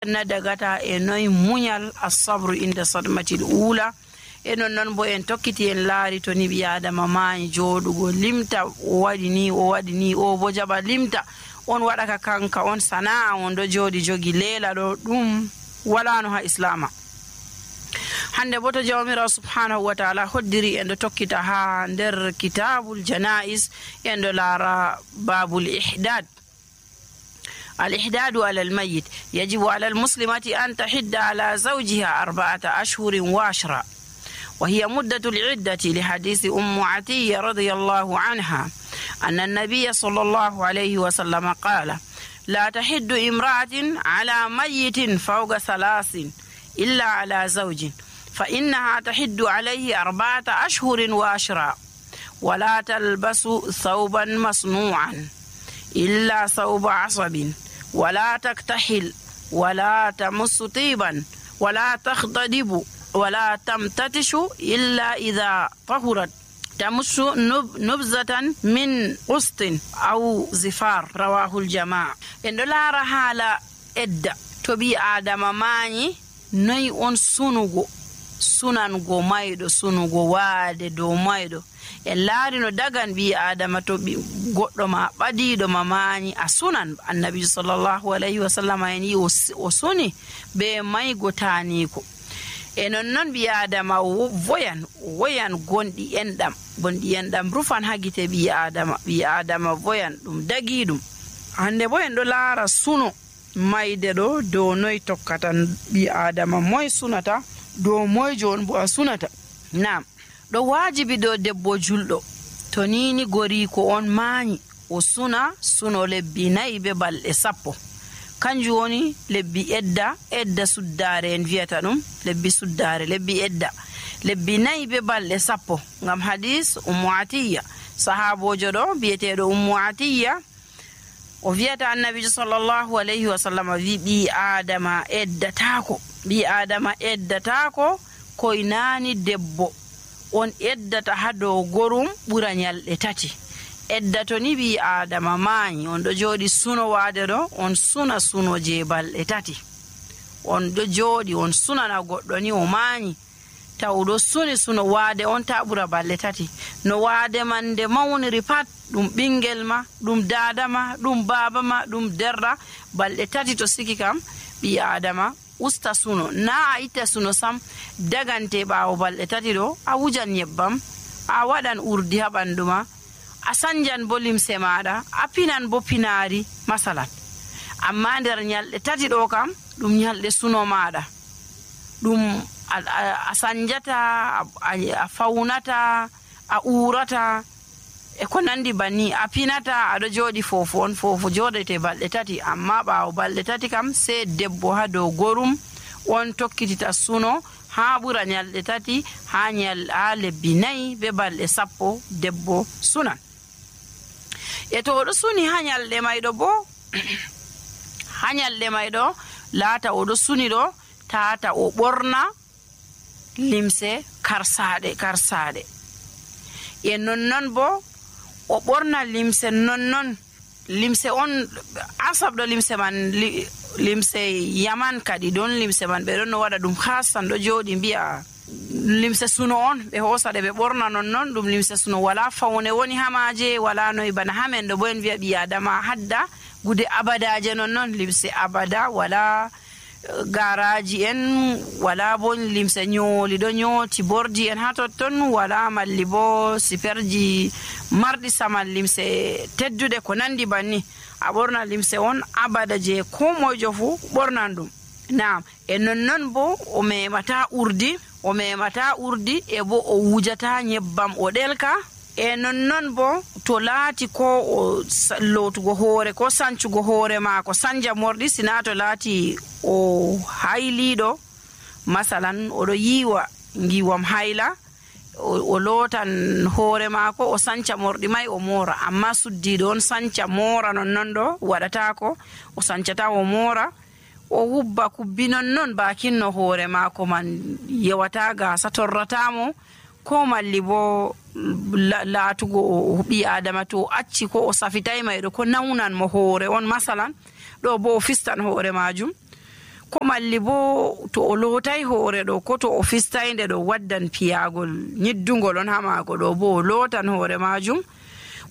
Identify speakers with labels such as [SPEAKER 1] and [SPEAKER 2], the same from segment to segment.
[SPEAKER 1] na dagata e noy muñal as-sabru inda sadmatil ula e non bo en tokkiti en laari to ni ɓi adama maayi jooɗugo limta o waɗi ni o bo jaɓa limta on waɗaka kanka on sana'a on ɗo jooɗi jogi leela ɗo ɗum walano ha islama. hande bo to jawmirawo subhanahu wa ta'ala hoddiri en ɗo tokkita ha nder kitabul janais en ɗo laara babul ihdad. الإحداد على الميت يجب على المسلمة أن تحد على زوجها 4 أشهر و10 وهي مدة العدة لحديث أم عتية رضي الله عنها أن النبي صلى الله عليه وسلم قال لا تحد امرأة على ميت فوق 3 إلا على زوج فإنها تحد عليه 4 أشهر و10 ولا تلبس ثوبا مصنوعا إلا ثوب عصب ولا تكتحل ولا تمس طيبا ولا تختضب ولا تمتتش إلا إذا طهرت تمس نبذة من قسط أو زفار رواه الجماعة. إن لا رحالة إدى تبي آدم ماني ني أن sunango mayɗo sunugo waade dow mayɗo en laari no dagan ɓi adama to goɗɗo ma ɓadiɗo ma maani a sunan. annabi sallallahu alayhi wa sallam en yi o suni be maygo taaniko e non ɓi adama woyan gonɗi enɗam rufan ha gite ɓi adama voyan ɗum dagi ɗum. hande bo en ɗo laara suno mayde ɗo dow noy tokkata ɓi adama moy sunata dow moyjo on bo a sunata. Naam, ɗo wajibi dow debbo julɗo to nini goriko on maani o suno lebbi 4 be balɗe 10 kanjum woni lebbi edda suddare en viyata ɗum lebbi suddare lebbi edda lebbi 4 be balɗe 10 ngam hadis ummu atiya sahabojo ɗo biyeteɗo ummu atiya o viyata annabijo sallallahu alayhi wa sallam wi ɓi adama eddatako koye naani debbo on eddata ha dow gorum ɓura ñalɗe 3 eddato ni ɓi adama maayi on ɗo jooɗi suno waade ɗo on suna suno je balɗe 3 on ɗo jooɗi on sunana goɗɗo ni o maayi taw ɗo suni suno waade on ta ɓura balɗe 3 no waade man nde mawniri pat ɗum ɓingel ma ɗum dada ma ɗum baba ma ɗum derra balɗe 3 to siki kam ɓi adama usta suno na a itta suno sam dagante ɓaawo balɗe 3 ɗo a wujan nyebbam a waɗan urdi ha ɓandu ma a sanjan bo limse maɗa a pinan bo pinaari masalan amma nder ñalɗe 3 ɗo kam ɗum ñalɗe suno maɗa ɗum a sanjata a fawnata a urata e ko nandi banni a pinata aɗo jooɗi fofo jooɗete balɗe 3 amma ɓaawo balɗe 3 kam sei debbo ha dow gorum on tokkitita suno ha ɓura ñalɗe 3 ha lebbi 4 be balɗe 10 debbo sunan. e to oɗo suni ha ñalɗe mayɗo bo ha ñalɗe mayɗo laata oɗo suni ɗo tata o ɓorna limse karsaɗe e nonnon bo o ɓorna limse nonnon limse on asabɗo limse man limse yaman kadi ɗon limse man ɓe ɗon no waɗa ɗum hasan ɗo jooɗi mbiya limse suno on ɓe hoosaɗe ɓe ɓorna nonnon ɗum limse suno wala fawne woni hamaje wala noyi bana hamen ɗo bo en wiya ɓi adama hadda gude abadaje nonnon limse abada wala garaji en wala bo limse ñooli ɗo ñooti bordi en ha totton wala malli bo siperji marɗi saman limse teddude ko nandi banni a ɓorna limse on abada je ko moyjo fu ɓornan ɗum. Naam, e nonnon bo o memata urdi e bo o wujata nyebbam o ɗelka e nonnon bo to laati ko o lootugo hoore ko sancugo hoore maako sanja morɗi sina to laati o hayliɗo masalan oɗo yiwa ngiwam hayla o lootan hoore maako o sanca morɗi may o moora amma suddiɗo on sanca moora nonnon ɗo waɗatako o sancata o moora o hubba kubbi nonnon bakinno hoore maako man yewata gasa torratamo ko malli bo laatugo ɓi adama to acci ko o safitay mayɗo ko nawnan mo hoore on masalan ɗo bo o fistan hoore majum ko malli bo to o lootai hoore ɗo ko to o fistainde ɗo waddan piyagol nyiddugol on ha maako ɗo bo o lootan hoore majum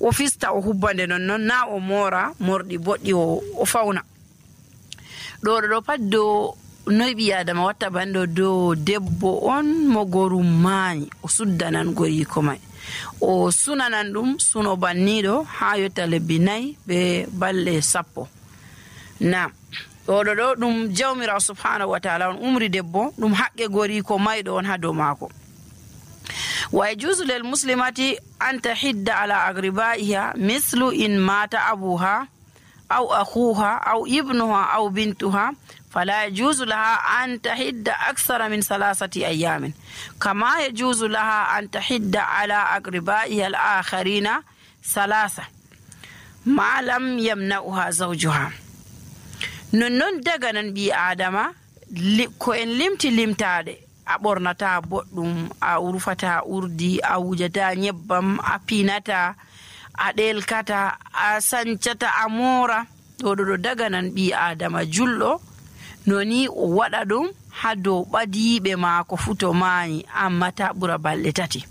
[SPEAKER 1] o fista o hubbande nonnon na o moora morɗi boɗɗi o fauna ɗo pat dow noy ɓi adama watta banɗo dow debbo on mo gorum maayi o suddanan goriko mai o sunanan ɗum suno banniɗo ha yotta lebbi 4 be balɗe 10 na ɗo ɗum jawmirawo subhanahu wa ta'ala on umri debbo ɗum haqqe goriko mayɗo on ha dow maako wa yajuzu lil muslimati an tahidda ala agribaiha mislu in mata abuha aw akhuha aw ibnuha aw bintuha فلا يجوز لها أن تحد أكثر من 3 أيام كما يجوز لها أن تحد على أقربائها الآخرين 3 ما لم يمنعها زوجها نون دغنان بي آدم ko en limtade a ɓornata boɗɗum a urfata urdi a wujata nyebbam a pinata a ɗelkata a sancata a moora ɗo daganan ɓi adama julɗo noni o waɗa ɗum ha dow ɓadiiɓe maako futo maayi amma ta ɓura balɗe 3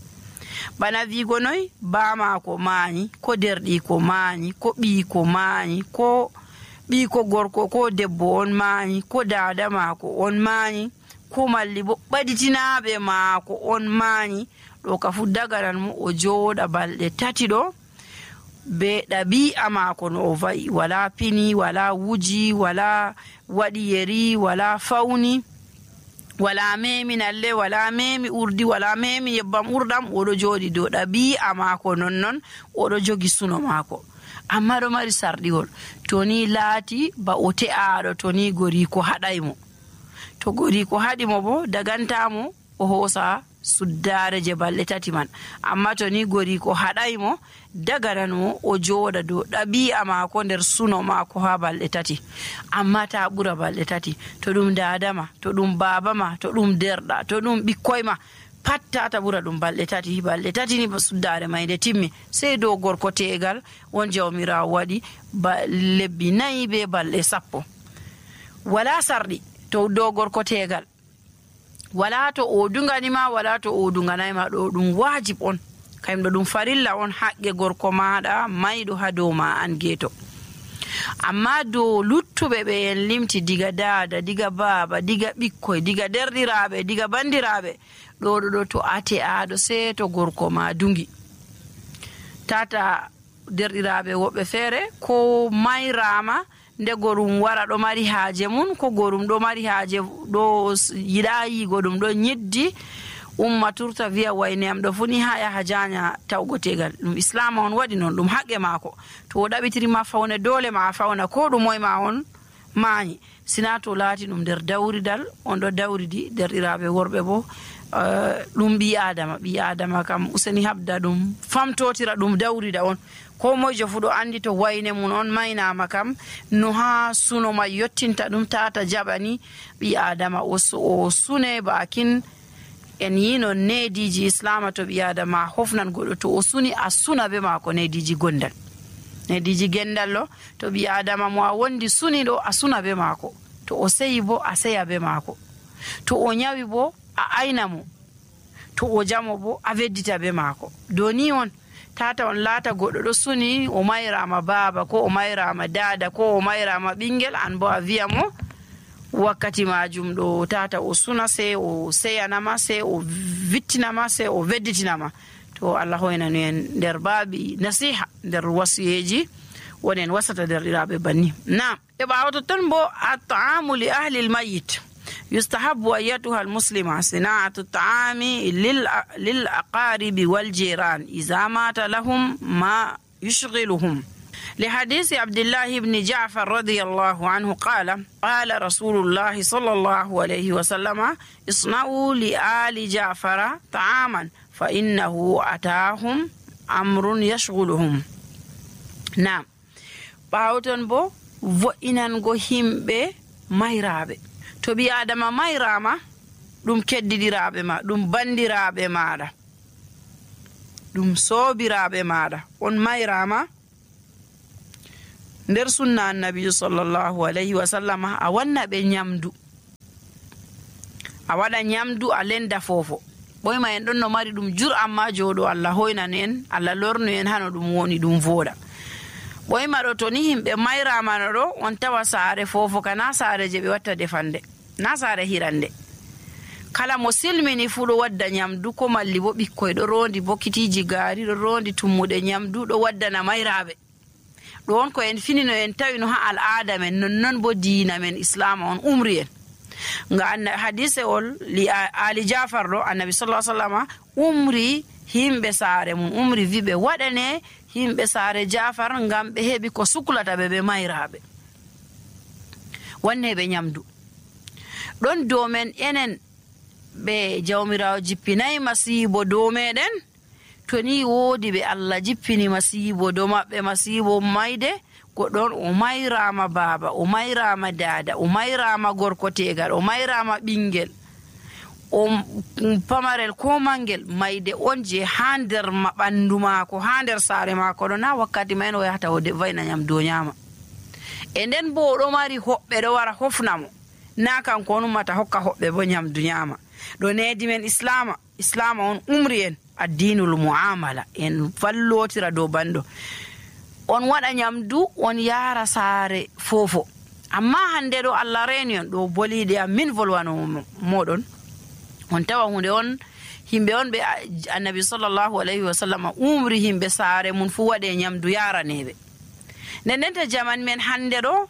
[SPEAKER 1] bana wiigo noy ba maako maayi ko derɗiko maayi ko ɓiiko maayi ko ɓiiko gorko ko debbo on maayi ko daada maako on maayi ko malli bo ɓaditinaɓe maako on maayi ɗo ka fu daganan mo o jooɗa balɗe 3 ɗo be ɗabi'a maako no o va'i wala pini wala wuji wala waɗi yeri wala fawni wala memi nalle wala memi urdi wala memi yebbam urdam oɗo jooɗi dow ɗabi'a maako nonnon oɗo jogi suno maako amma ɗo mari sarɗiwol to ni laati ba o te'aɗo to ni goriko haɗaymo to goriko haɗimo bo dagantamo o hoosa suddare je balɗe 3 man amma to ni goriko haɗaymo dagananmo o jooɗa dow ɗabi'a maako nder suno maako ha balɗe 3 amma ta ɓura balɗe 3 to ɗum dadama to ɗum babama to ɗum derɗa to ɗum ɓikkoy ma pat tata ɓura ɗum balɗe 3 balɗe 3 ni ba suddare may nde timmi sey dow gorko tegal won jawmirawo waɗi lebbi 4 be balɗe 10 wala sarɗi to dow gorko tegal wala to o dunganima wala to o dunganayma ɗo ɗum wajib on kayum ɗo ɗum farilla on haqqe gorko maɗa mayɗo ha dow ma an geeto amma dow luttuɓe ɓe en limti diga dada diga baba diga ɓikkoy diga derɗiraɓe diga bandiraɓe ɗo to ate aɗo sey to gorko ma dungi tata derɗiraɓe woɓɓe feere ko mayrama nde gorum wara ɗo mari haaje mun ko gorum ɗo mari haaje ɗo yiɗa yigo ɗum ɗo ñeddi umma turta wiya wayne am ɗo funi ha yaha janya tawgo tegal ɗum islam on waɗi noon ɗum haqqe maako to o ɗaɓitirima fawne dole ma a fawna ko ɗum moy ma on maayi sina to laati ɗum nder dawridal on ɗo dawridi derɗiraɓe worɓe bo ɗum ɓi adama kam useni habda ɗum famtotira ɗum dawrida on ko moyjo fu ɗo andi to wayne mun on maynama kam no ha suno ma yottinta ɗum tata jaɓani ɓi adama o sune bakin en yino nediji islama to ɓi adama hofnan goɗɗo to o suni a suna be mako nediji gondal nediji gendal lo to ɓi adama mo a wondi suni ɗo a suna be mako to o seyi bo a seya be mako to o nyawi bo a ayna mo to o jamo bo a weddita be mako doni on tata on laata goɗɗo ɗo suni o mayrama baba ko o mayrama dada ko o mayrama ɓingel an bo a wiya mo wakkati majum ɗo tata o suna sey o seyanama sey o vittinama sey o wedditinama to Allah hoynanu en nder baabi nasiha nder wasiyeji wonen wasata derɗiraɓe banni na e ɓawa ton bo at-ta'amu li ahli al-mayyit يستحب أيتها المسلمة صناعة الطعام للأقارب والجيران إذا مات لهم ما يشغلهم لحديث عبد الله بن جعفر رضي الله عنه قال رسول الله صلى الله عليه وسلم اصنعوا لآل جعفر طعاما فإنه أتاهم أمر يشغلهم نعم باوتن بو وإنان همبه مهرابه to ɓi adama mayrama ɗum keddidiraɓe ma ɗum bandiraɓe maɗa ɗum sobiraɓe maɗa on mayrama nder sunna annabijo sallllahu alayhi wa sallam a wanna ɓe nyamdu a waɗa nyamdu a lenda fofo ɓoyma en ɗon no mari ɗum jur amma joɗo Allah hoynanu en Allah lornu en hano ɗum woni ɗum voɗa ɓoyma ɗo to ni himɓe mayramano ɗo on tawa saare fofo kana saare je ɓe watta defande na saare hirande kala mo silmini fu ɗo wadda nyamdu ko malli bo ɓikkoy ɗo rondi bokitiji gaari ɗo rondi tummuɗe nyamdu ɗo waddana mayraɓe ɗo on ko en finino en tawi no ha al'ada men nonnon bo diina men islama on umri en nga hadise ol li ali jafar ɗo annabi sallallahu alaihi wasallam umri himɓe saare mum umri wiɓe waɗane himɓe saare jafar ngam ɓe heɓi ko suklata ɓe mayraɓe wanne ɓe nyamdu ɗon dow men enen ɓe jawmirawo jippinayi masibo dow meɗen to ni woodi ɓe Allah jippini masibo dow maɓɓe masibo mayde goɗɗon o mayrama baaba o mayrama dada o mayrama gorko tegal o mayrama ɓingel o pamarel ko mangel mayde on je ha nder ɓandu maako ha nder saare maako ɗo na wakkati mayen o yahata o vayna nyamdu o nyama e nden bo oɗo mari hoɓɓe ɗo wara hofnamo na kanko on ummata hokka hoɓɓe bo nyamdu nyama ɗo needi men islama on umri en addinul muamala en fallotira dow bando on waɗa nyamdu on yara saare fofo amma hande ɗo Allah reni on ɗo boliɗe am min volwano moɗon on tawa hunde on himɓe on ɓe annabi sallallahu alayhi wa sallam umri himɓe saare mum fu waɗe nyamdu yaraneɓe nden to jaman men hande ɗo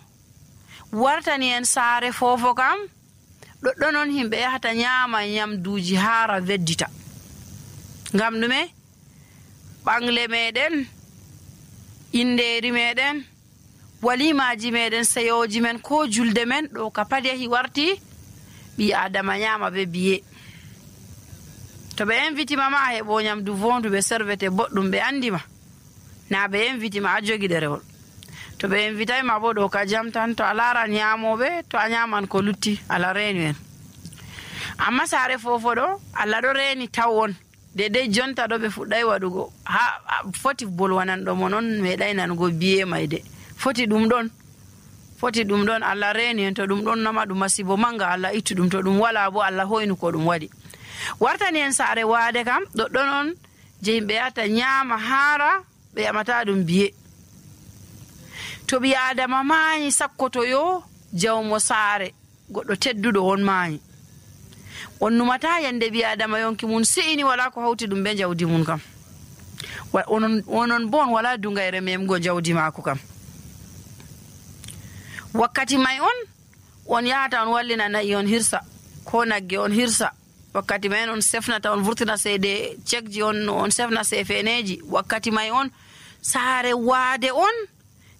[SPEAKER 1] wartani en saare fofo kam ɗoɗɗon on himɓe yahata nyama nyamduji hara weddita ngam ɗume ɓangle meɗen inderi meɗen walimaji meɗen seyoji men ko julde men ɗo ka pat yahi warti ɓi adama nyama ɓe biye to ɓe invitima ma a heɓo nyamdu vondu ɓe servete boɗɗum ɓe andima na ɓe invitima a jogi ɗerewol to ɓe invitayma bo ɗo ka jam tan to a laran nyamoɓe to a nyaman ko lutti Allah reni en amma saare fofo ɗo Allah ɗo reni taw on dedei jonta ɗo ɓe fuɗɗay waɗugo ha foti bolwananɗo mo noon meeɗay nanugo biye mayde foti ɗum ɗon Allah reni en to ɗum ɗon nama ɗum masibo manga Allah ittu ɗum to ɗum wala bo Allah hoynu ko ɗum waɗi wartani en saare waade kam ɗoɗɗon on je yimɓe yahata nyama haara ɓe yamata ɗum biye to ɓi adama maayi sakkotoyo jawmo saare goɗɗo tedduɗo on maayi on numata yande ɓi adama yonki mum si'ini wala ko hawti ɗum ɓe jawdi mum kam onon bo on wala dungayre memgo jawdi maako kam wakkati may on yahata on wallina nayi on hirsa ko nagge on hirsa wakkati may on sefnata on vurtina seede cekji on sefna sefeneji wakkati may on saare waade on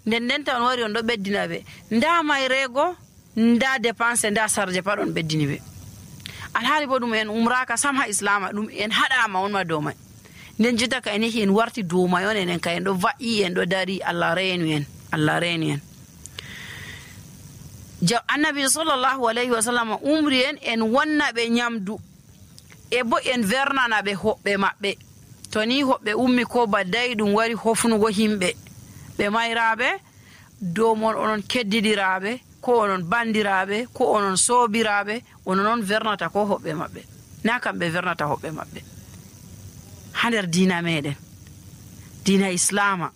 [SPEAKER 1] nden tan wari on ɗo ɓeddina ɓe nda mayrego nda dépense nda sarje pat on ɓeddini ɓe alhaali bo ɗum en umraka sam ha islama ɗum en haɗama on ma dow may nden jotta ka en yehi en warti dow may on enen ka en ɗo va'i en ɗo dari Allah reni en annabi sallallahu alayhi wa sallam umri en wonna ɓe nyamdu e bo en vernana ɓe hoɓɓe maɓɓe to ni hoɓɓe ummi ko badday ɗum wari hofnugo himɓe ɓe mayraɓe dow mon onon keddidiraɓe ko onon bandiraɓe ko onon soobiraɓe onon vernata ko hoɓɓe maɓɓe na kamɓe vernata hoɓɓe maɓɓe ha nder diina meɗen diina islama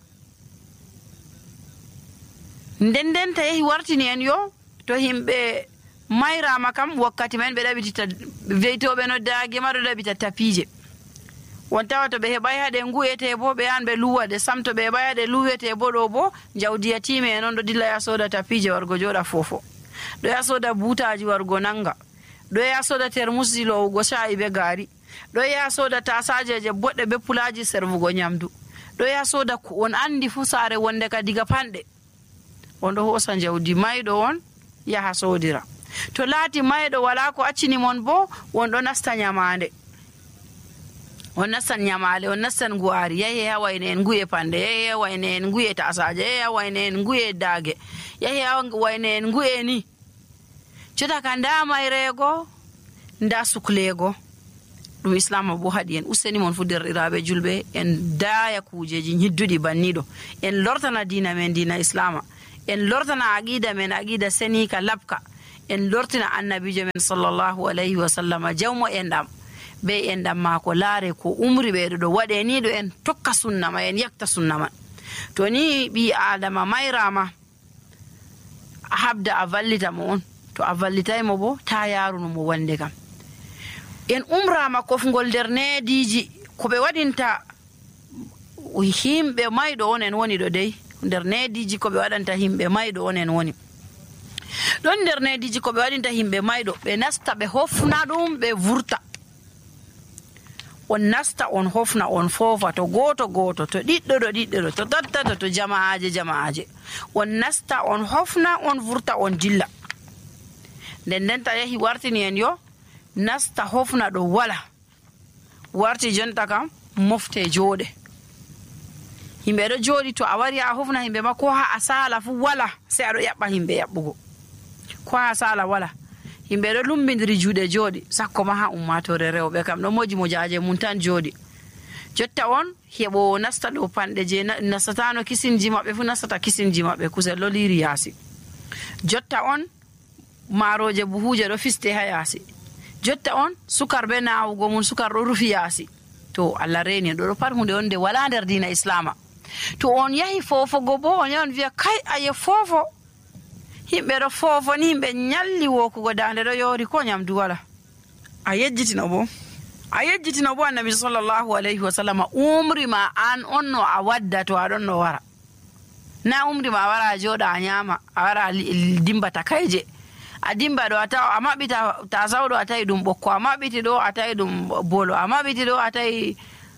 [SPEAKER 1] nden ta yehi wartini en yo to himɓe mayrama kam wakkati men ɓe ɗaɓitita weytoɓe no daage ma ɗo ɗaɓita tapije won tawa to ɓe heɓay haɗe nguyete bo ɓe yan ɓe luwaɗe sam to ɓe heɓay haɗe luwete bo ɗo bo jawdi yatime en on ɗo dilla ya soda tapije wargo joɗa fofo ɗo ya soda butaji wargo nanga ɗo ya soda termusji lowugo sha'i be gaari ɗo ya soda tasajeje boɗɗe be pulaji servugo nyamdu ɗo ya soda ko on andi fu saare wonde ka diga panɗe on ɗo hosa jawdi mayɗo on yaha sodira to laati mayɗo wala ko accini mon bo on ɗo nasta nyamande on nastan nyamale on nastan guari yahi ha wayne en guye pande yahi ha wayne en guye tasaje yahi ha wayne en guye daage yahi ha wayne en guye ni cota ka nda mayrego nda suklego ɗum islama bo haɗi en useni mon fu derɗiraɓe julɓe en daaya kujeji hidduɗi banniɗo en lortana diina men diina islama en lortana aqida men aqida senika labka en lortina annabijo men sallallahu alayhi wa sallam jawmo enɗam be enɗam maako laare ko umri ɓeeɗo ɗo waɗe ni ɗo en tokka sunna ma en yakta sunna man. to ni ɓi adama mayrama a habda a vallita mo on, to a vallitaymo bo ta yaruno mo wonde kam. en umrama kofgol nder neediji ko ɓe waɗinta himɓe mayɗo on en woni ɗo dey, nder neediji ko ɓe waɗanta himɓe mayɗo on en woni ɗon. nder neediji ko ɓe waɗinta himɓe mayɗo, ɓe nasta ɓe hofna ɗum ɓe vurta. on nasta on hofna on foofa to goto goto, to ɗiɗɗo ɗo ɗiɗɗo ɗo, to tattato to jama'aje on nasta on hofna on vurta on dilla. nden ta yahi wartini en yo nasta hofna ɗo wala, warti jonta kam mofte jooɗe. himɓe ɗo jooɗi, to a wari a hofna himɓe ma ko ha a sala fu wala, sai aɗo yaɓɓa himɓe yaɓɓugo, ko ha sala wala. himɓe ɗo lumbidiri juuɗe jooɗi, sakko ma ha ummatore rewɓe kam ɗo moji mojaje mum tan jooɗi. jotta on heɓo nasta ɗo panɗe je nastatano kisinji maɓɓe fu nastata kisinji maɓɓe, kusel ɗo liri yaasi. jotta on maaroje buhuje ɗo fiste ha yaasi. jotta on sukar be nawugo mum, sukar ɗo rufi yaasi. to Allah reni ɗo pat hunde on nde wala nder dina islama. to on yahi fofogo bo on yahi on wiya kai aye fofo, himɓe ɗo foofo ni himɓe nyalli wokugo dande ɗo yori ko nyamdu wala, a yejjitino bo annabi sallallahu alayhi wa sallam umri ma an on no a wadda to aɗon no wara, na umri ma a wara a jooɗa a nyama, a wara a dimba takayje, a dimba ɗo a tawa a maɓɓita tasawɗo a tawi ɗum ɓokko, a maɓɓiti ɗo a tawi ɗum bolo, a maɓɓiti ɗo a tawi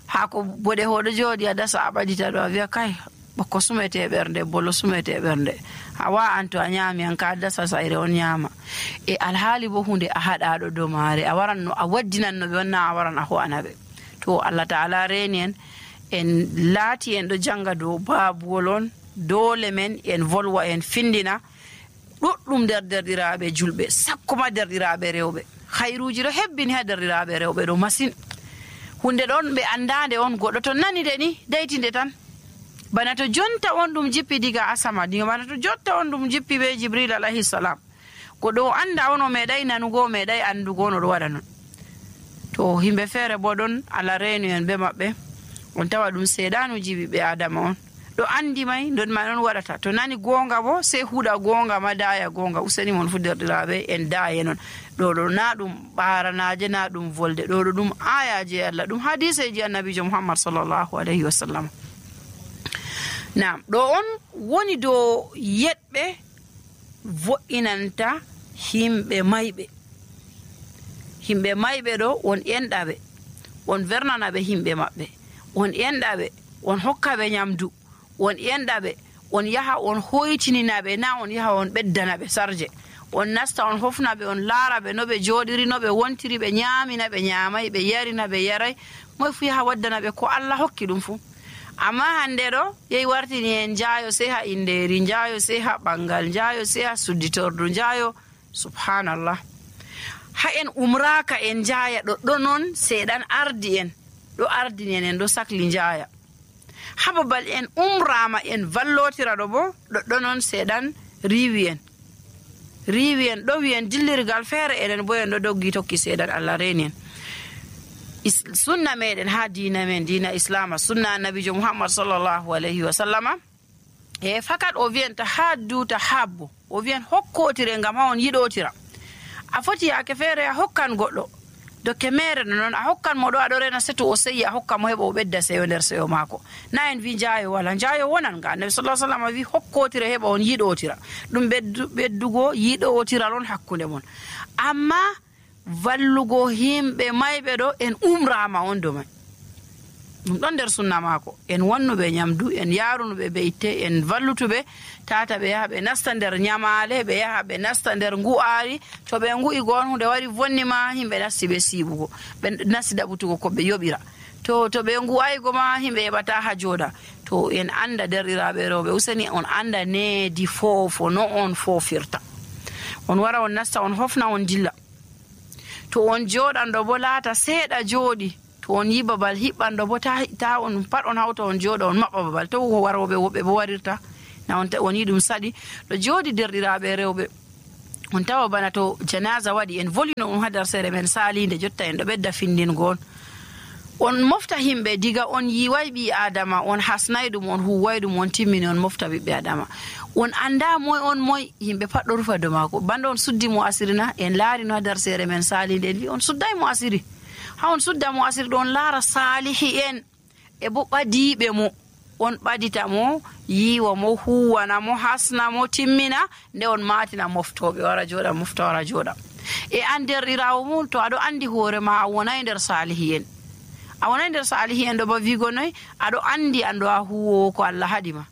[SPEAKER 1] haako boɗe hoɗo jooɗi a dasa a ɓadita ɗo, a wiya kai ɓokko sumete ɓernde, bolo sumete ɓernde, a wa'an to a nyami an ka dasa sayre on nyama. e alhaali bo hunde a haɗaɗo dow maare, a waran no a waddinan no ɓe wonna a waran a ho'ana ɓe. to Allah ta'ala reni en laati en ɗo janga dow babuwol on, dole men en volwa en findina ɗuɗɗum nder derɗiraɓe julɓe, sakkoma derɗiraɓe rewɓe. hayruji ɗo hebbini ha derɗiraɓe rewɓe ɗo masin. hunde ɗon ɓe andade on, goɗɗo to nani de ni daytinde tan, bana to jonta on ɗum jippi diga asama, bana to jotta on ɗum jippi be jibril alayhi salam, goɗɗo o anda on o meeɗay nanugo, o meeɗay andugo no ɗo waɗa non. to himɓe feere bo ɗon Allah reenu en be maɓɓe, on tawa ɗum seeɗanuji ɓiɓɓe adama on ɗo andi may ɗon ma on waɗata, to nani gonga bo sei huuɗa gonga ma daya gonga. useni mon fu derɗiraɓe en daye non, ɗo na ɗum ɓaranaje, na ɗum volde, ɗo ɗum ayaji Allah, ɗum hadiseji annabijo muhammad sallallahu alayhi wa sallam. Naam, ɗo on woni dow yeɗɓe vo'inanta himɓe mayɓe. himɓe mayɓe ɗo on enɗaɓe, on vernanaɓe himɓe maɓɓe, on enɗaɓe, on hokkaɓe nyamdu, on enɗaɓe, on yaha on hoytininaɓe, na on yaha on ɓeddanaɓe sarje, on nasta on hofnaɓe, on laaraɓe no ɓe jooɗiri, no ɓe wontiri, ɓe nyamina ɓe nyamay, ɓe yarina ɓe yaray, moy fu yaha waddanaɓe ko Allah hokki ɗum fu. amma hande ɗo yehi wartini en jaayo sei ha inderi, jaayo sei ha ɓangal, jaayo sei ha sudditordu, jaayo subhanallah. ha en umraka en jaaya ɗoɗɗo noon seeɗan ardi en ɗo ardini en ɗo sakli jaaya. ha babal en umrama en vallotira ɗo bo ɗoɗɗo noon seeɗan riwi en ɗo wi en dillirgal feere, eɗen bo en ɗo doggi tokki seeɗan. Allah reni en. sunna meɗen ha dina men, dina islama, sunna annabijo muhammad sallallahu alayhi wa sallama, e fakat o wiyanta ha duta habbo, o wiyan hokkotire ngam ha on yiɗotira. a foti yake feere a hokkan goɗɗo dokke mere no noon, a hokkan mo ɗo aɗo rena seto o seyi, a hokka mo heɓa o ɓedda seyo nder seyo maako. na en wi jaayo wala, jaayo wonan ga annabi sallallahu alaihi wasallam wi hokkotire heɓa on yiɗotira, ɗum ɓeddugo yiɗotiral on hakkunde mon. amma vallugo himɓe mayɓe ɗo en umrama on do man, ɗum ɗon nder sunna maako. en wannuɓe nyamdu, en yarunuɓe ɓe itte, en vallutuɓe tata ɓe yaha ɓe nasta nder nyamale, ɓe yaha ɓe nasta nder ngu'ari. to ɓe ngu'i gon hunde wari vonni ma, himɓe nasti ɓe siibugo, ɓe nasti ɗaɓutugo ko ɓe yoɓira. to ɓe ngu'aygo ma himɓe heɓata ha jooɗa. to en anda derɗiraɓe rewɓe, useni on anda needi foofo no on foofirta. on wara on nasta on hofna on dilla. to on jooɗanɗo bo laata seeɗa jooɗi, to on yi babal hiɓɓanɗo bo ta on pat on hawta on jooɗa on maɓɓa babal, to waroɓe woɓɓe bo warirta na on yi ɗum saɗi. ɗo jooɗi derɗiraɓe rewɓe, on tawa bana to janaza waɗi en volino on hadar sere men salinde jotta en ɗo ɓedda findingol on mofta himɓe diga on yiway ɓi adama on hasnay ɗum on huway ɗum on timmini on mofta ɓiɓɓe adama on anda moy on moy yimɓe pat ɗo rufa do maako banda on suddi mo asiri na en laari no hadar sere men salinde en wi on sudday mo asiri ha on sudda mo asiri ɗo on laara salihi en e bo ɓadiɓe mo on ɓadita mo yiwa mo huwana mo hasna mo timmina nde on matina moftoɓe wara jooɗa mofta wara jooɗa e an derɗirawo mum to aɗo andi hoore ma a wonay nder salihi en a wonay nder salihi en ɗo ba wigo noy aɗo andi anɗo a huwowo ko Allah haɗima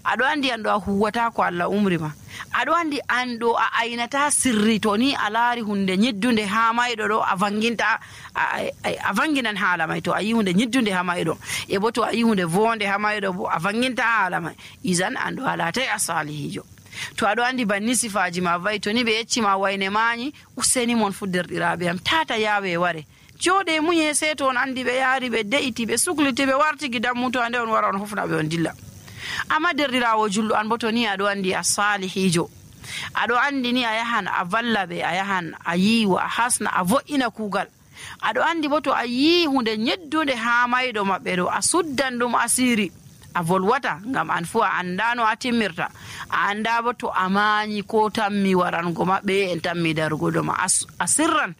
[SPEAKER 1] aɗo andi anɗo a huwata ko Allah umri ma aɗo andi anɗo a aynata sirri to ni a laari hunde ñeddunde ha mayɗo ɗo a vanginta a vanginan haala may to a yi hunde ñeddunde ha mayɗo e bo to a yi hunde vonde ha mayɗo bo a vanginta haala may isan anɗo a latay a salihijo to aɗo andi banni sifaji ma vayi to ni ɓe yeccima wayne mañi useni mon fu derɗiraɓe am tata yawe ware jooɗe muñe seeto on andi ɓe yaari ɓe de'iti ɓe sukliti ɓe wartigi dammuto ande on wara on hofna ɓe on dilla amma derɗirawo julɗo an bo to ni aɗo andi a salihijo aɗo andi ni a yahan a valla ɓe a yahan a yiwa a hasna a vo'ina kuugal aɗo andi bo to a yi hunde ñeddude ha mayɗo maɓɓe ɗo a suddan ɗum asiri a volwata ngam an fu a andano a timmirta a anda bo to a mañi ko tammi warango maɓɓe en tammi darugo ɗoma a sirran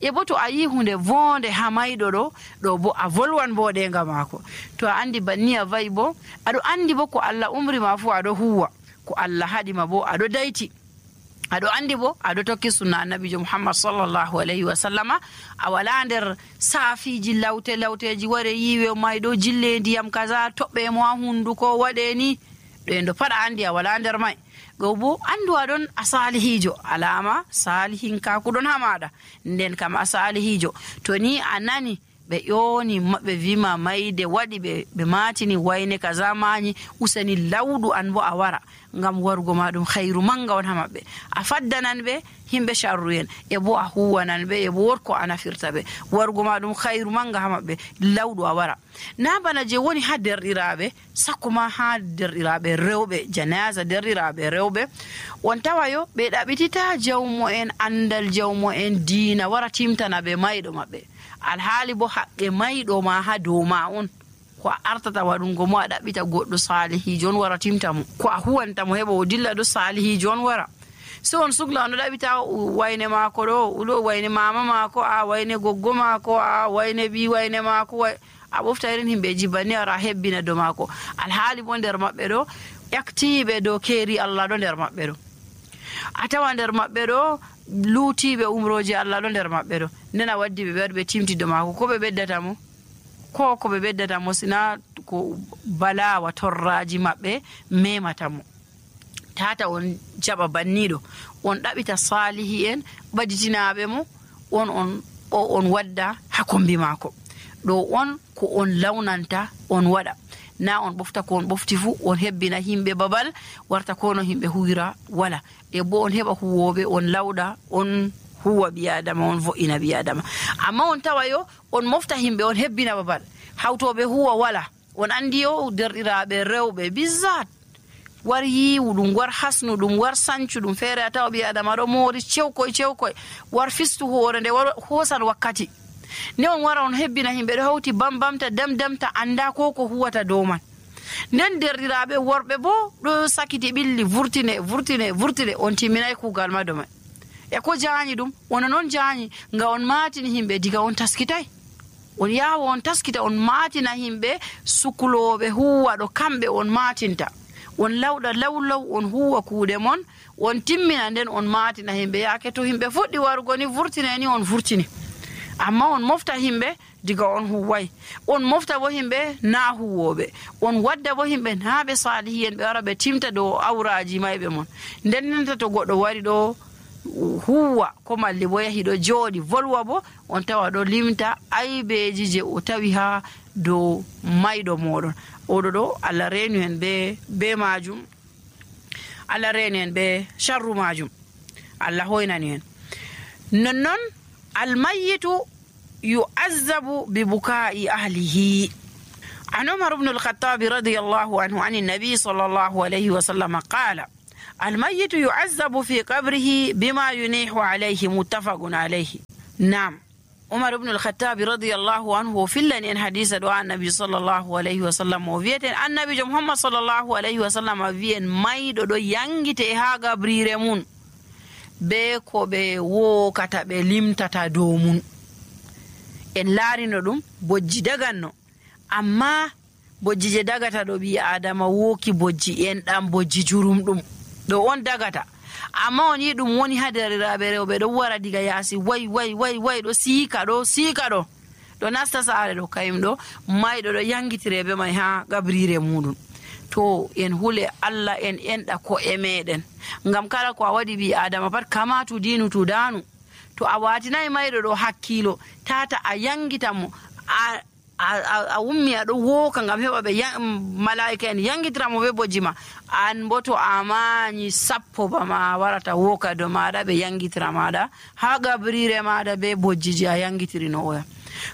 [SPEAKER 1] e bo to a yi hunde vonde ha mayɗo ɗo bo a volwan boɗenga maako to a andi banni a vayi bo aɗo andi bo ko Allah umri ma fu aɗo huwa ko Allah haɗima bo aɗo dayti aɗo andi bo aɗo tokki sunna annabijo Muhammad sallallahu alayhi wa sallama a wala nder saafiji lawteji ware yiwe mayɗo jille ndiyam kaza toɓɓe mo ha hunduko waɗe ni ɗo en ɗo paɗa andi a wala nder may go bo andu aɗon a salihijo alama salihin kakuɗon ha maɗa nden kam a salihijo to ni a nani ɓe ƴoni maɓɓe wima mayde waɗi ɓe matini wayne kaza mañi useni lawɗu an bo a wara ngam warugo ma ɗum hayru manga on ha maɓɓe a faddanan ɓe himɓe sharru en e bo a huwanan ɓe e bo wotko a nafirta ɓe warugo ma ɗum hayru manga ha maɓɓe lawɗu a wara na bana je woni ha derɗiraɓe sakko ma ha derɗiraɓe rewɓe janaza derɗiraɓe rewɓe on tawayo ɓe ɗaɓitita jawmo en andal jawmo en diina wara timtana ɓe mayɗo maɓɓe alhaali bo haqqe mayɗo ma ha dow ma on ko a artata waɗungo mo a ɗaɓɓita goɗɗo salihijo on wara timta mo ko a huwanta mo heɓa o dilla ɗo salihijo on wara so on sugla on ɗo ɗaɓita wayne maako ɗo ɗo wayne mama maako a wayne goggo maako a wayne ɓi wayne maako a ɓofta irin himɓeji banni ara hebbina do maako alhaali bo nder maɓɓe ɗo ƴaktiɓe dow keeri Allah ɗo nder maɓɓe ɗo a tawa nder maɓɓe ɗo luutiɓe umroji Allah ɗo nder maɓɓe ɗo nden a waddi ɓe ɓe ɓe timtido maako ko ɓe ɓeddata mo ko ɓe ɓeddata mo sina ko balawa torraji maɓɓe memata mo tata on jaɓa banniɗo on ɗaɓita salihi en ɓaditinaɓe mo on wadda ha kombi maako ɗo on ko on lawnanta on waɗa na on ɓofta ko on ɓofti fu on hebbina himɓe babal warta kono himɓe huwira wala e bo on heɓa huwoɓe on lawɗa on huwa ɓiyadama on vo'ina ɓiyadama amma on tawayo on mofta himɓe on hebbina babal hawtoɓe huwa wala on andi yo derɗiraɓe rewɓe bizzat war yiwu ɗum war hasnu ɗum war sancu ɗum feere a tawa ɓiyadama ɗo moori cewkoy war fistu hoore nde war hoosan wakkati nde on wara on hebbina himɓe ɗo hawti bambamta damdamta anda ko huwata dow man nden derɗiraɓe worɓe bo ɗo sakiti ɓilli vurtine on timminay kuugal ma domai e ko jaanyi ɗum wona noon jaanyi nga on matini himɓe diga on taskitay on yawa on taskita on matina himɓe sukuloɓe huwa ɗo kamɓe on matinta on lawɗa lawlaw on huwa kuuɗe mon on timmina nden on matina himɓe yaake to himɓe fuɗɗi warugo ni vurtine ni on vurtini amma on mofta himɓe diga on huway on mofta bo himɓe na huwoɓe on wadda bo himɓe na ɓe salihi en ɓe wara ɓe timta dow awraji mayɓe mon ndennenta to goɗɗo wari ɗo huwa ko malli bo yahi ɗo jooɗi volwa bo on tawa ɗo limta aybeji je o tawi ha dow mayɗo moɗon oɗo ɗo Allah reenu en be majum Allah reenu en be sharru majum Allah hoynani en nonnon almayyitu yu'azzabu bi buka'i ahlihi an Umar ibn al-Khattab radiyallahu anhu an an-nabi sallallahu alayhi wa sallam qala almayitu yu'azzabu fi qabrihi bima yunihu alayhi muttafaqun alayhi. Naam, Umar ibn al-Khattab radiyallahu anhu fillani en hadisa do annabi sallallahu alayhi wa sallam o wieten annabi Muhammad sallallahu alayhi wa sallam wien maydo do yangite ha gabrire mun be ko be wokata be limtata dow mun. En laarino ɗum bojji daganno, amma bojji je dagata ɗo ɓi adama woki bojji en ɗan bojji jurum ɗum ɗo on dagata, amma on yi ɗum woni ha deriraɓe rewɓe ɗo wara diga yaasi way ɗo siika ɗo nasta saare ɗo kayum ɗo mayɗo ɗo yangitire be may ha gabrire muɗum. To en hule Allah en enɗa ko e meɗen, ngam kala ko a waɗi ɓi adama pat kamatu dinu tudanu. To a watinayi mayɗo ɗo hakkilo tata a yangita mo a ummi aɗo woka ngam heɓa ɓe malaika en yangitira mo be bojji ma, an bo to a mañi sappo bama warata woka do maɗa ɓe yangitira maɗa ha gabrire maɗa be bojjiji a yangitirino oya.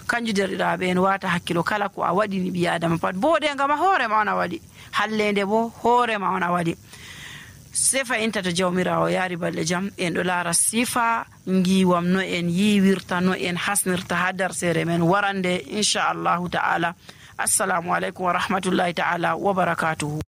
[SPEAKER 1] Kanju derɗiraɓe en wata hakkilo kala ko a waɗini ɓi adama pat boɗe ngam hoore ma on a waɗi, hallende bo hoore ma on a waɗi. Sefa inta to jawmirawo yaari balɗe jam en ɗo laara sifa ngiwam no en yiwirta no en hasnirta ha darsere men warande inchallahu ta'ala. Assalamu aleykum wa rahmatullahi ta'ala wa barakatuhu.